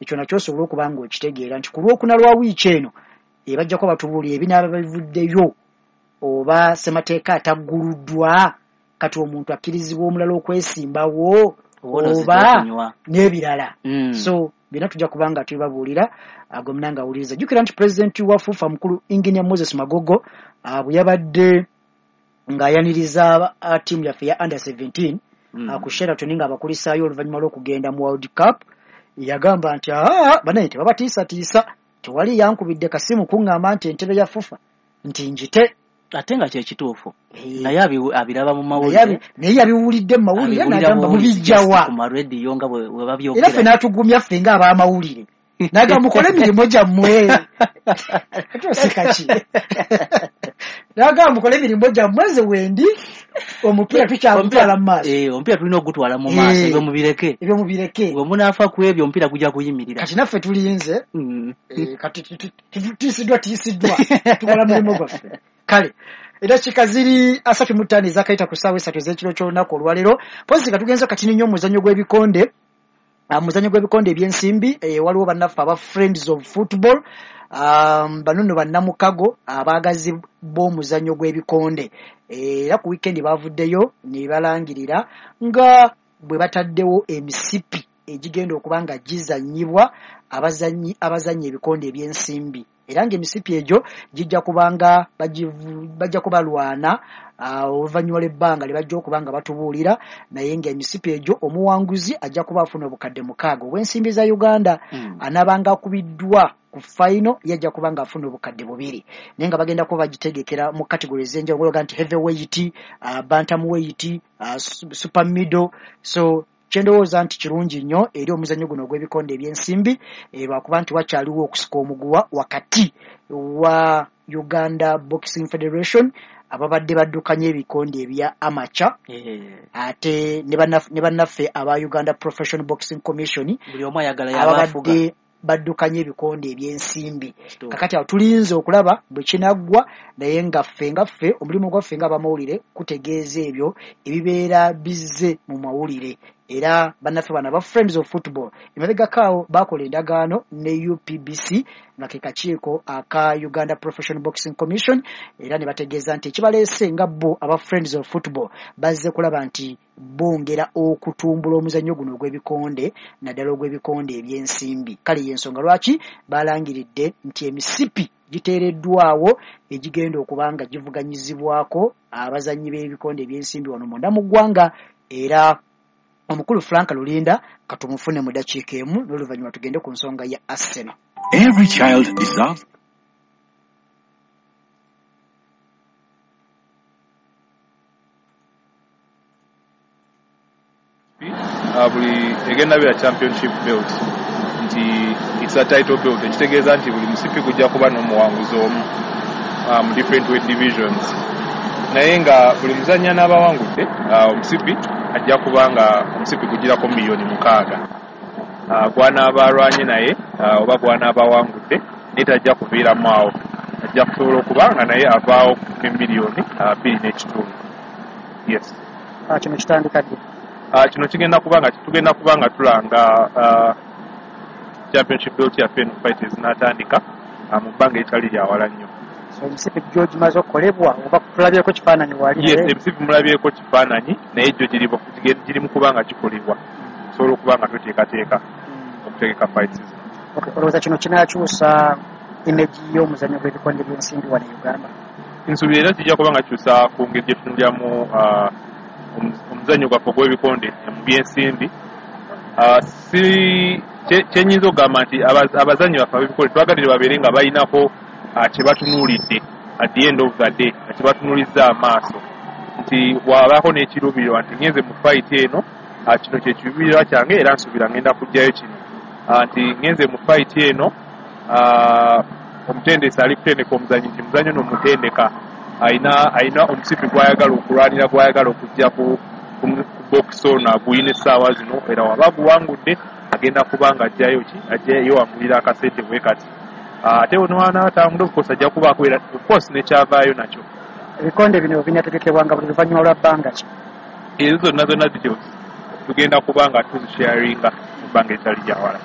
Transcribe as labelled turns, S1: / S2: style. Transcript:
S1: Ekyo nakyo osobola okuba nga okitegeera nti ku Lwokuna lwa wiiki eno ebajjako batubuulira ebinaaba bivuddeyo, oba ssemateeka atagguluddwa, kati omuntu akkirizibwa omulala okwesimbawo oba n'ebirala. So byonna tujja kuba nga tubibabuulira. Gwe munange awuliriza, jjukira nti pulezidenti wa FUFA mukulu Engineer Moses Magogo bwe yabadde ng'ayaniriza ttiimu yaffe ya under 17 ku Sheraton ng'abakulisaayo oluvannyuma lw'okugenda mu World Cup, yagamba nti aa banaye tebabatiisatiisa, tewali yankubidde kasimu kuŋŋamba nti entebe ya FUFA nti njite.
S2: Ate nga kyekituufu, naye abiraba mu mawulire,
S1: naye yabiwulidde mu mawulire n'agamba mubijjawa
S2: ku marediyo nga bwe babyogera,
S1: era ffe n'atugumya ffe ng'ab'amawulire n'agamba mukole emirimu gyammwe. Toseka ki? N'agamba mukole emirimu gyammwe, nze wendi omupiira tukyagutwala mu maaso.
S2: Omupiira tulina okugutwala mu maaso, ebyo mubireke,
S1: ebyo mubireke,
S2: bwe munaafa ku ebyo omupiira gujja kuyimirira.
S1: Kati naffe tulinze, kati tutiisiddwa tiisiddwa, tukola mulimu gwaffe. Kale eddakiika ziri 35 ezakayita ku ssaawa 3 ez'ekiro ky'olunaku olwaleero. Mpozi nga tugenze katini nnyo omuzannyo gw'ebikonde, muzannyo gw'ebikonde ebyensimbi, waliwo bannaffe aba Friends of Football, bano nno bannamukago abaagazi b'omuzannyo gw'ebikonde, era ku wiikendi bavuddeyo ne balangirira nga bwe bataddewo emisipi egigenda okuba nga gizannyibwa abazannyi abazannya ebikonde ebyensimbi, era ng'emisipi egyo gijja kubanga bajja kubalwana oluvannyuma lw'ebbanga lye bajja okuba nga batubuulira, naye ng'emisipi egyo omuwanguzi ajja kuba afuna obukadde 6 obw'ensimbi za Uganda, anaabanga akubiddwa ku fayino yajja kuba nga afuna obukadde 2, naye nga bagenda kuba bagitegekera mu categories ez'enjawulo nti heavyweight, bantamweight, super middle. So kyendowooza nti kirungi nnyo eri omuzannyo guno ogw'ebikonde ebyensimbi, lwakuba nti wakyaliwo okusika omuguwa wakati wa Uganda Boxing Federation ababadde baddukanya ebikonde ebya amateur, ate ne bannaffe aba Uganda Professional Boxing Commission
S2: buli omu ayagala y'abafuga,
S1: ababadde baddukanya ebikonde ebyensimbi. Kakati awo tulinze okulaba bwe kinaggwa, naye nga ffe omulimu gwaffe ng'abamawulire kutegeeza ebyo ebibeera bizze mu mawulire. Era bannaffe bano aba Friends of Football emabegako awo baakola endagaano ne UPBC nga ke kakiiko aka Uganda Professional Boxing Commission, era ne bategeeza nti ekibaleese nga bo aba Friends of Football bazze kulaba nti bongera okutumbula omuzannyo guno ogw'ebikonde, naddala ogw'ebikonde ebyensimbi. Kale y'ensonga lwaki balangiridde nti emisipi giteereddwawo egigenda okuba nga givuganyizibwako abazannyi b'ebikonde ebyensimbi wano munda mu ggwanga. Era omukulu Frank Lulinda katumufune mu ddakiika emu, n'oluvannyuma tugende ku nsonga ya Arsenal.
S3: Every child deserves
S4: buli egenda beera championship belt, nti it's a title belt, ekitegeeza nti buli musipi gujja kuba n'omuwanguzi omu mu different weight divisions, naye nga buli muzannyi anaabawangudde omusipi ajja kuba nga omusipi gugirako 6 million gwanaaba alwanye naye oba gwanaaba awangudde, naye tajja kuviiramu awo, ajja kusobola okuba nga naye avaawo ne 2.5 million. Yes.
S1: Kino kitandika ddi?
S4: Kino kigenda kuba nga tugenda kuba nga tulanga championship belt yaffe eno fight ezinaatandika mu bbanga eritali lya wala nnyo.
S1: So emisipi gyo gimaze okukolebwa oba tulabyeko kifaananyi wali?
S4: Yes, emisipi mulabyeko kifaananyi, naye gyo giri mu kuba nga gikolebwa, tusobola okuba nga tuteekateeka okutegeka fights zino.
S1: Olowooza kino kinaakyusa image y'omuzannyo gw'ebikonde by'ensimbi wano e Uganda?
S4: Nsuubira era kijja kuba nga kikyusa ku ngeri gye tutunuliramu omuzannyo gwaffe ogw'ebikonde mu byensimbi. Kyenyinza okugamba nti abazannyi baffe ab'ebikonde twagalire babeere nga balinako kye batunuulidde at the end of the day, nga kye batunuulizza amaaso, nti bw'abaako n'ekiruubirirwa nti ngenze mu fight eno, kino kye kiruubirirwa kyange era nsuubira ngenda kuggyayo kino, nti ngenze mu fight eno, omutendesi ali kutendeka omuzannyi nti muzannyi ono omutendeka alina omusipi gw'ayagala okulwanira, gw'ayagala okujja ku box ono aguyina essaawa zino, era waba aguwangudde agenda kuba nga ajjayo ki, ajja yewangulira akasente bwe kati, ate wanaatangudde of course ajja kubaako era of course nekyavaayo nakyo.
S1: Ebikonde bino binategekebwanga buli luvannyuma lwa bbanga ki?
S4: Ezo zonna zonna details tugenda kuba nga tuzisharinga mu bbanga eritali lya wala.